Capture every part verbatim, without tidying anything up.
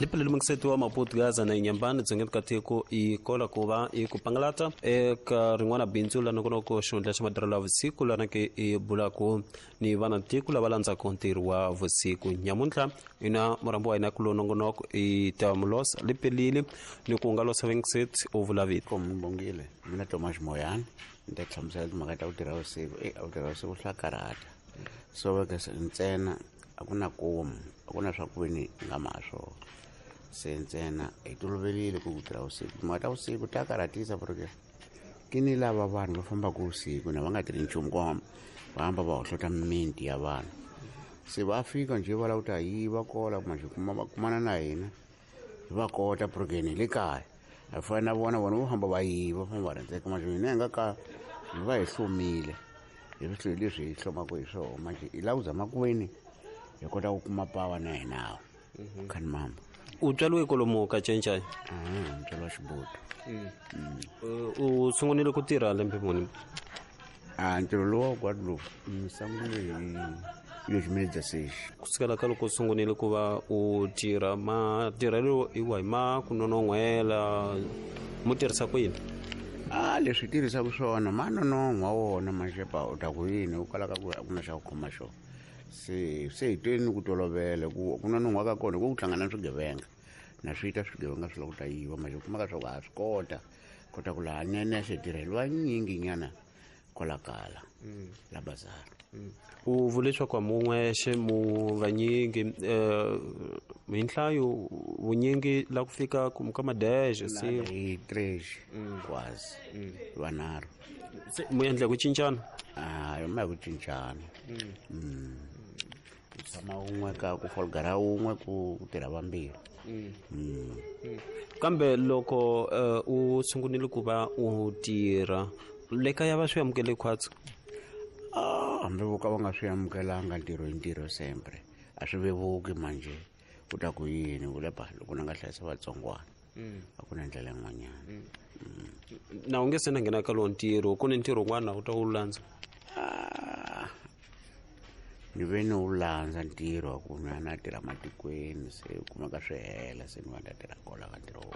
Lipelele mungiseti wa Maputo Gaza na Inyambani dzongeni ka tiko i kola ku va i ku pangalata eka rin'wana bindzu la nongonoko xihundla xa matirhelo ya vusiku lana ke i bulaku ni vana tiko lava landzaka ntirho wa vusiku. Nyamuntlha ina murambo wa hina ku lo nongonoko i Tamulos Lipelile ni ku nga losa vingiseti u vula vito. Kombongile mina Thomas Moyane ni ta hlamusela timhaka ta ku tirha vusiku. E a ku tirha vusiku swa karhata, so veke ntsena a ku na komu, a ku na swa ku veni nga ma swona. Se ntsena hi toloverile ku ku tirha vusiku. Timhaka ta vusiku ta karhatisa porque ke ni lava vanhu va fambaka vusiku na va nga tirhi nchumu ku va hamba va hohlota mimiti ya vanhu. Se va fika njhe va lava ku ta yiva kola manjhe kuma va kumana na hina hi va kota porque ni le kaya a fana na vona vona vo famba va yiva va famba va rhendzeka manjhe hina hi nga ka hi va hi hlomile hi swilo leswi hi hlomaka hi swona manjhe hi lava ku zama ku veni hi kota ku kuma pawa na hina khani mamba. U tswariwe kwalomu ka Cencai? Ah, ntswalo wa Xibutu. U sungurile ku tirha lembe muni? Ah, ntirho lowu wa Guadeloupe ni sungule hi dois mil e dezesseis. Kusukela ka loko u sungurile ku va u tirha, matirhelo hi wahi ma ku nonon'hwela mu tirhisa ku yini? Ah, leswi hi tirhisaka swona ma nonon'hwa wona maxepa u ta ku yini u kalaka ku a ku na xa ku khoma xona. Se se hi tweni ku tolovela ku ku nonon'hwa ka kona ku ku hlangana na swigevenga na swi ta swigevenga swi lava ku ta yiva manjhe u kumaka swa ku ha swi kota kota ku laha nenexe hi tirheliwa nyingi nyana kwala kala la bazar. U vule leswaku a mun'wexe mu vanyingi hi nhlayo vunyingi la ku fika ka madexe se hi três quase vanharhu. Se mu endla ku cincana? Ah, ma hi ku cincana. Ku tshama wun'we ka ku folgara wun'we ku tirha vambirhi. Kambe loko u sungurile ku va u tirha le kaya va swi amukele khwatsi? Ah, hambi vo ka va nga swi amukelanga ntirho hi ntirho sempre a swi vevuki manjhe u ta ku yini u le ba loko na nga hlayisa vatsongwana a ku na ndlela yin'wanyana. Na u nge se na nghena ka lowu ntirho ku ni ntirho wun'wana u ta wu landza? Ah, ni ve ni wu landza ntirho wa ku na na tirha matikweni se u kumeka swi hela se ni va ni ta tirha kola ka ntirho wo.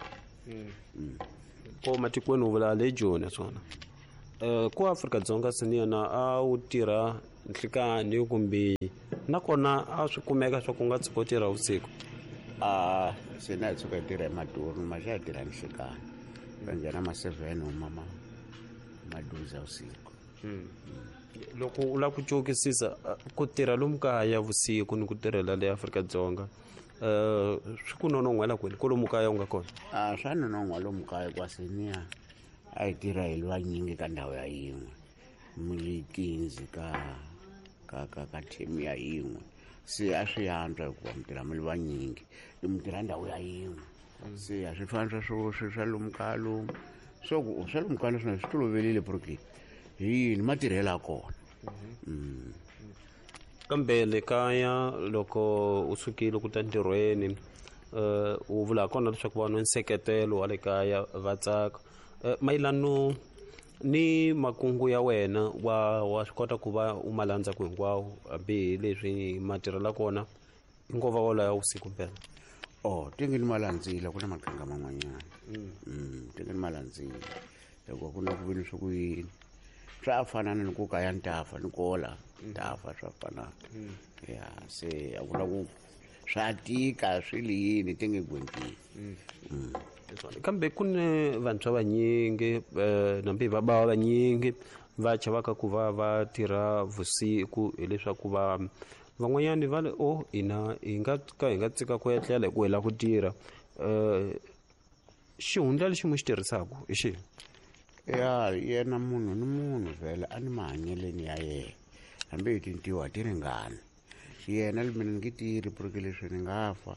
Ko matikweni u vula le Joni swona. Ku Afrika-Dzonga se ni yena a wu tirha nhlikani kumbe nakona a swi kumeka swa ku nga tshuka u tirha vusiku? Ah, se na hi tshuka hi tirha hi maturnu ma xa hi tirha nhlikani va nghena ma seven huma ma maduza vusiku. Loko u lava ku cokisisa ku tirha lomu kaya vusiku ni ku tirhela le Afrika-Dzonga swi ku nonon'hwela kwini kwalomu kaya u nga kona? Ah, swa nonon'hwa lomu kaya hikuva se niya a hi tirha hi vanyingi ka ndhawu ya yin'we mi quinze ka ka ka ka team ya yin'we se a swi antswa hikuva mi tirha mi ri vanyingi mi tirha ndhawu ya yin'we se a swi fani swa swo swi swa lomu kaya lomu so ku swa lomu kaya naswona swi toloverile porque hi yini matirhelo ya kona. Kambe le kaya loko u sukile ku ta ntirhweni u vula kona leswaku vanhu nseketelo wa le kaya va tsaka. Mayelano ni makungu ya wena wa wa swi kota ku va u ma landza ku hinkwawo hambi hi leswi matirhelo kona i nkova wolowo ya vusiku mpela? Oh, tenge ni ma landzile ku na maqhinga man'wanyana. Tenge ni ma landzile hikuva ku na ku veni swa ku yini swa fana ni ku kaya ni tafa ni kola tafa swa fanana. Ya se a ku na ku swa tika swi li yini tenge gwentini. Kambe ku ni vantshwa vanyingi nambi va bava vanyingi va chavaka ku va va tirha vusiku hileswaku va van'wanyani va le o hina hi nga ka hi nga tsika ku etlela hi ku hi lava ku tirha. Xihundla lexi mu xi tirhisaka hi xihi? Ya yena munhu ni munhu vhele a ni mahanyeleni ya yena hambi hi tintiho a ti ringani yena mina ni nge tirhi porque leswi ni nga fa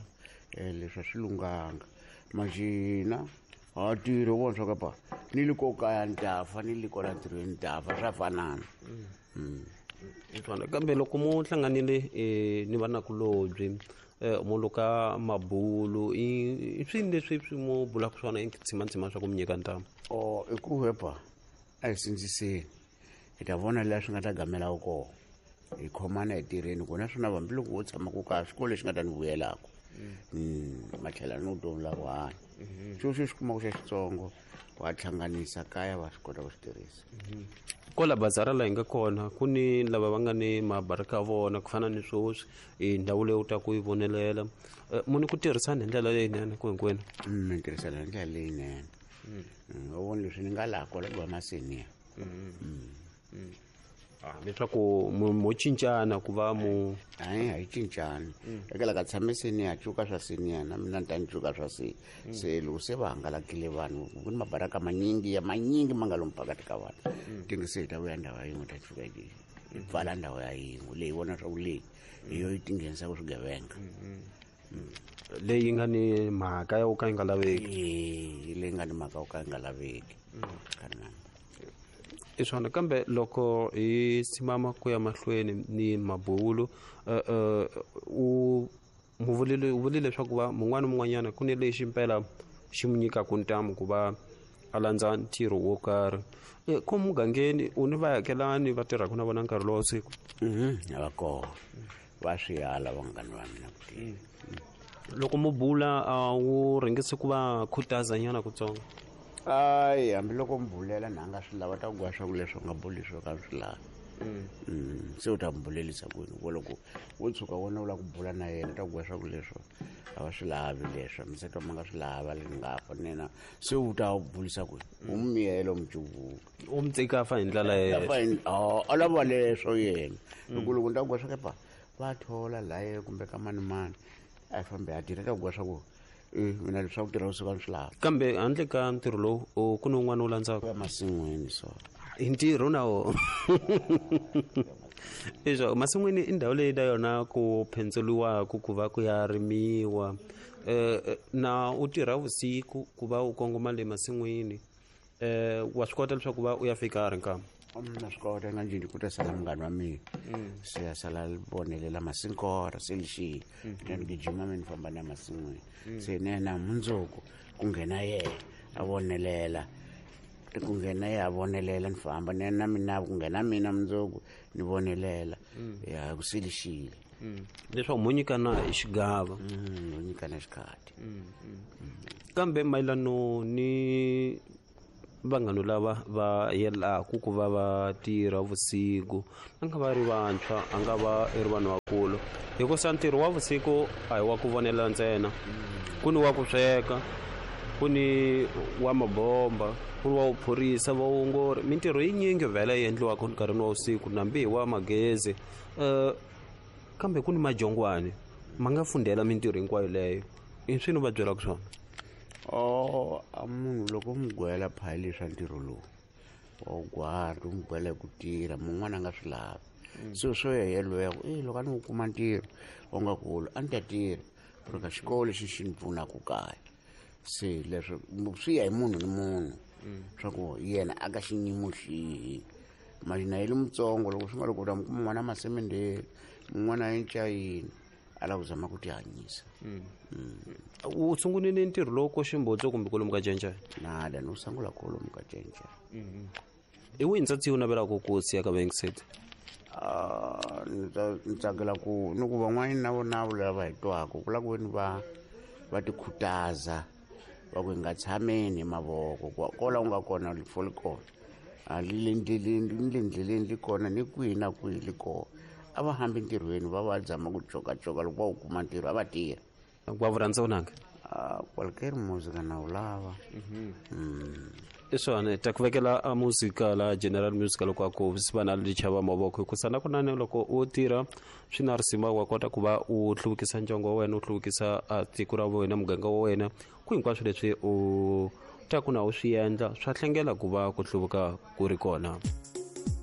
leswi a swi lunghanga majina ha tirhi u vona swa ka pa ni le ko kaya ni ta fa ni le kwala ntirhweni ni ta fa swa fanana. Kambe loko mu hlanganile ni vanakulobye mu luka mabulu i swini leswi swi mu bulaka swona i tshimantshiman swa ku mi nyika ntamu? O i ku hepa a hi sindziseni hi ta vona laha swi nga ta gamela kona hi khomana hi tirheni ku naswona hambiloko wo tshama ku kaya xikolo lexi nga ta ni vuyelaka. Matlhela no vutomi la ku hanya xo xo xi kumaka xa xitsongo wa hlanganisa kaya va swi kota ku swi tirhisa. Kwala bazara laha hi nga kona ku ni lava va nga ni mabaraka vona ku fana ni sweswi i ndhawu leyi u ta ku yi vonelela munhu ku tirhisana hi ndlela leyinene ku hinkwenu. Mi tirhisana hi ndlela leyinene. U vona leswi ni nga laha kwala ku va maseniya leswaku mo cincana ku va mu hayi a yi cincani eka la ka tshame seniya cuka swa seniya na mina ni ta ni cuka swa se se loko se va hangalakile vanhu ku ni mabaraka manyingi ya manyingi ma nga lomu phakati ka vanhu tingi se hi ta vuya ndhawu ya yin'we ta cuka yi pfala ndhawu ya yin'we leyi vona swa ku leyi hi yo yi tinghenisaka swigevenga leyi nga ni mhaka ya ku ka yi nga laveki e leyi nga ni mhaka yo ka yi nga laveki. I swona kambe loko hi simama ku ya mahlweni ni mabulo u muvulile u vulile leswaku va mun'wana mun'wanyana ku ni lexi mpela xi mu nyikaka ntamu ku va a landza ntirho wo karhi ko mugangeni u ni vaakelani va tirhaka na vona nkarhi lowa siku. Va kona va swi ala vanghana va mina ku tirha. Loko mu bula a wu rhangisi ku va khutazanyana kutsongo? Ayi hambiloko mi bulela na nga swi lava ta ku gwa swa ku leswi u nga buli swo ka swi lavi. Se u ta mi bulelisa kwini ku loko wo tshuka wona u lava ku bula na yena ta ku gwa swa ku leswo a va swi lavi leswo miseto ma nga swi lava le nga fa nena se u ta bulisa kwini u mi miyela u mi cuvuka u mi tsika fa hi ndlela yena a lava leswo yena loko loko ni ta ku gwa swa kepa va thola laye kumbe ka mani mani a yi fambi a tirha ta ku gwa swa ku mina leswaku tirha vusiku a ni swi lavi. Kambe handle ka ntirho lowu ku ni un'wana wu landzaka masin'wini so i ntirho na wona leswaku masin'wini i ndhawu leyi na yona ku phendzeliwaka ku va ku ya rimiwa um na u tirha vusiku ku va u kongoma le masin'wini um wa swi kota leswaku va u ya fika a ri nkama? Na swi kota nga njhini ku ta sala munghana wa mina se ya sala vonelela masinkora se lexile ni gijima mi ni famba na masin'wini se ni yena mundzuku ku nghena yena a vonelela ku nghena yena a vonelela ni famba ni yena mina ku nghena mina mundzuku ni vonelela ya ku se lexile leswaku mo nyikana hi xigava mo nyikana xikhati. Kambe mayelano ni vanghana lava va yelaku ku va va tirha vusiku a nga va ri vantshwa a nga va i ri vanhu vakulu hikusa ntirho wa vusiku a hi wa ku vonela ntsena ku ni wa ku sweka ku ni wa mabomba ku ni wa vuphorisa vaongori mintirho yinyingi vhele yi endliwaka nkarhini wa vusiku nambi hi wa magezi um kambe ku ni majongwani ma nga fundhela mintirho hinkwayo leyo i swi ni va byelaka swona? Oh a munhu loko u n'wi gwela phayili swa ntirho lowu wa wu gwari u n'wi gwela hi ku tirha mun'wana a nga swi lavi so swo ya yelweyo ku e loko a ni wu kuma ntirho wa nga kulu a ni ta tirha ku ri ka xikolo lexi xi ni pfunaka kaya se leswo swi ya hi munhu ni munhu swa ku yena a ka xiyimo xihi mali na yele mutsongo loko swi nga loko u ta mi kuma n'wana masemendheni mun'wana a encayini a lava ku zama ku tihanyisa. U sungulile ntirho lowu ko Ximbodzo kumbe kwalomu ka Cencene? Nada ni wu sungula kwalomu ka Cencene. I wihi ntsatsi u navelaka ku siya ka vayingiseti? Ni tsakela ku ni ku van'wani na vona lava hi twaka ku lava ku veni va va ti khutaza va ku hi nga tshameni hi mavoko kwala u nga kona rifo li kona a li le ndleleni ni le ndleleni li kona ni kwihi na kwihi li kona a va hambi ntirhweni va va zama ku cokacoka loko va wu kuma ntirho a va tirha. Wa vu rhandza vunanga? Kwalukeri muzika na wu lava. I swona ta ku vekela a muzika la general music loko a ku sivana lichava mavoko hikusa na kunene loko u tirha swi na risima wa kota ku va u hluvukisa ndyangu wa wena u hluvukisa tiko ra wena muganga wa wena ku hinkwaswo leswi u ta ku na u swi endla swa hlengela ku va ku hluvuka ku ri kona.